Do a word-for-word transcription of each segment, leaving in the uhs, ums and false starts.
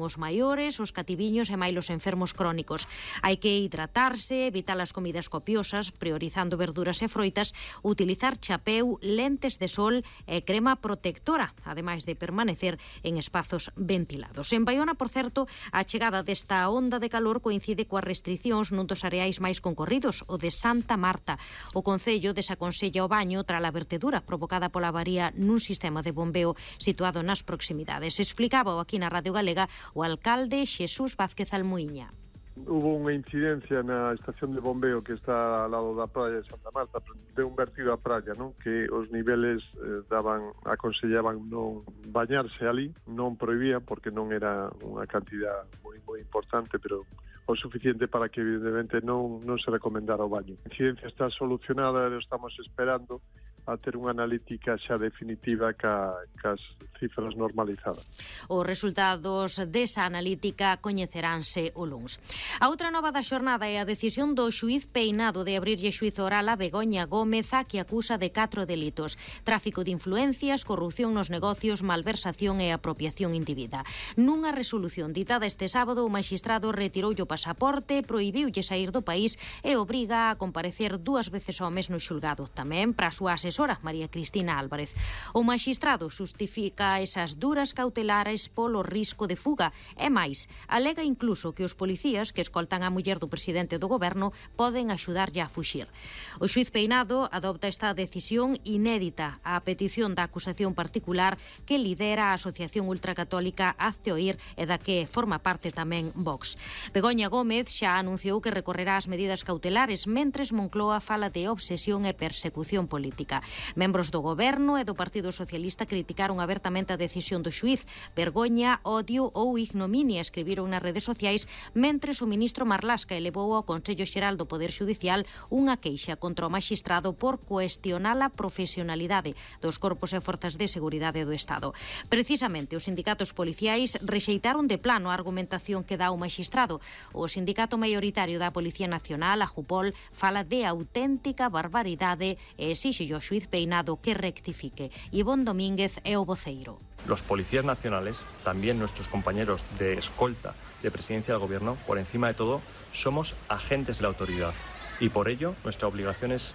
os maiores, os cativiños e máis os enfermos crónicos. Hai que hidratarse, evitar as comidas copiosas, priorizando verduras e froitas, utilizar chapeu, lentes de sol e crema protectora, ademais de permanecer en espazos ventilados. En Baiona, por certo, a chegada desta onda de calor coincide coas restriccións nun dos areais máis concorridos, o de Santa Marta. O Concello desaconsella o baño tras a vertedura provocada pola avaría nun sistema de bombeo situado nas proximidades. Explicaba aquí na Radio Galega o alcalde Xesús Vázquez Almuíña. Hubo unha incidencia na estación de bombeo que está ao lado da praia de Santa Marta, de un vertido á praia, non? Que os niveles eh, daban, aconsellaban non bañarse ali, non prohibía porque non era unha cantidad moi moi importante, pero o suficiente para que evidentemente non non se recomendara o baño. A incidencia está solucionada, e estamos esperando a ter unha analítica xa definitiva ca, cas cifras normalizadas. Os resultados desa analítica coñeceránse o luns. A outra nova da xornada é a decisión do xuíz Peinado de abrirlle xuízo oral a Begoña Gómez, a que acusa de catro delitos: tráfico de influencias, corrupción nos negocios, malversación e apropiación indebida. Nunha resolución ditada este sábado, o magistrado retiroulle o pasaporte, prohibiulle sair do país e obriga a comparecer dúas veces ao mes no xulgado, tamén para a súa asesora, María Cristina Álvarez. O magistrado xustifica esas duras cautelares polo risco de fuga e máis, alega incluso que os policías que escoltan a muller do presidente do goberno poden axudarlle a fuxir. O xuíz Peinado adopta esta decisión inédita á petición da acusación particular que lidera a Asociación Ultracatólica Hazte Oír e da que forma parte tamén Vox. Begoña Gómez xa anunciou que recorrerá as medidas cautelares, mentres Moncloa fala de obsesión e persecución política. Membros do goberno e do Partido Socialista criticaron abertamente a decisión do xuíz. Vergoña, odio ou ignominia, escribiron nas redes sociais, mentres o ministro Marlasca elevou ao Consello Xeral do Poder Xudicial unha queixa contra o magistrado por cuestionar a profesionalidade dos corpos e forzas de seguridade do Estado. Precisamente, os sindicatos policiais rexeitaron de plano a argumentación que dá o magistrado. O sindicato maioritario da Policía Nacional, a Jupol, fala de auténtica barbaridade e exixe ao xuíz Peinado que rectifique. Ivón Domínguez é o voceiro. Los policías nacionales, también nuestros compañeros de escolta de presidencia del gobierno, por encima de todo, somos agentes de la autoridad y por ello nuestra obligación es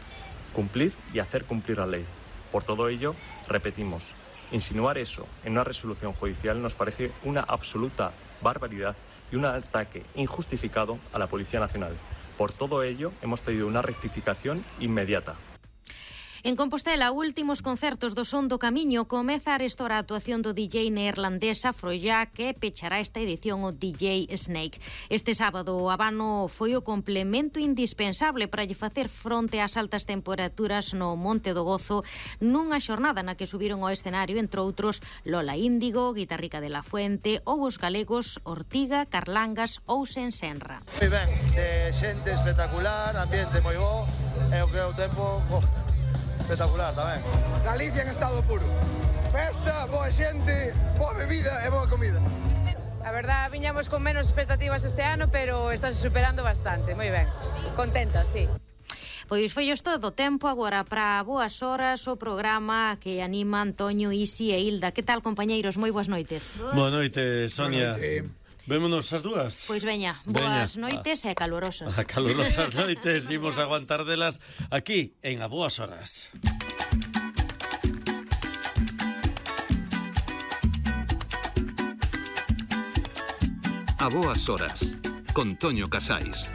cumplir y hacer cumplir la ley. Por todo ello, repetimos, insinuar eso en una resolución judicial nos parece una absoluta barbaridad y un ataque injustificado a la Policía Nacional. Por todo ello, hemos pedido una rectificación inmediata. En Compostela, últimos concertos do Son do Camiño. Comeza a restora a actuación do D J neerlandés Afrojack, que pechará esta edición o D J Snake. Este sábado o Habano foi o complemento indispensable para lle facer fronte ás altas temperaturas no Monte do Gozo, nunha xornada na que subiron ao escenario, entre outros, Lola Índigo, Guitarrica de la Fuente ou os galegos Ortiga, Carlangas ou Sensenra. Moi ben, de xente espectacular, ambiente moi bo, e o que é o tempo... Oh. Espectacular tamén. Galicia en estado puro. Festa, boa xente, boa bebida e boa comida. A verdad, viñamos con menos expectativas este ano, pero estás superando bastante, moi ben. Contenta, sí. Pois foi isto todo tempo agora para Boas Horas, o programa que anima Antonio, Isi e Hilda. Que tal, compañeiros? Moi boas noites. Boa noite, Sonia. Boa noite. Vémonos as dúas. Pois veña, boas veña. noites e calorosas. A calorosas noites, imos aguantar delas aquí en A Boas Horas. A Boas Horas, con Toño Casais.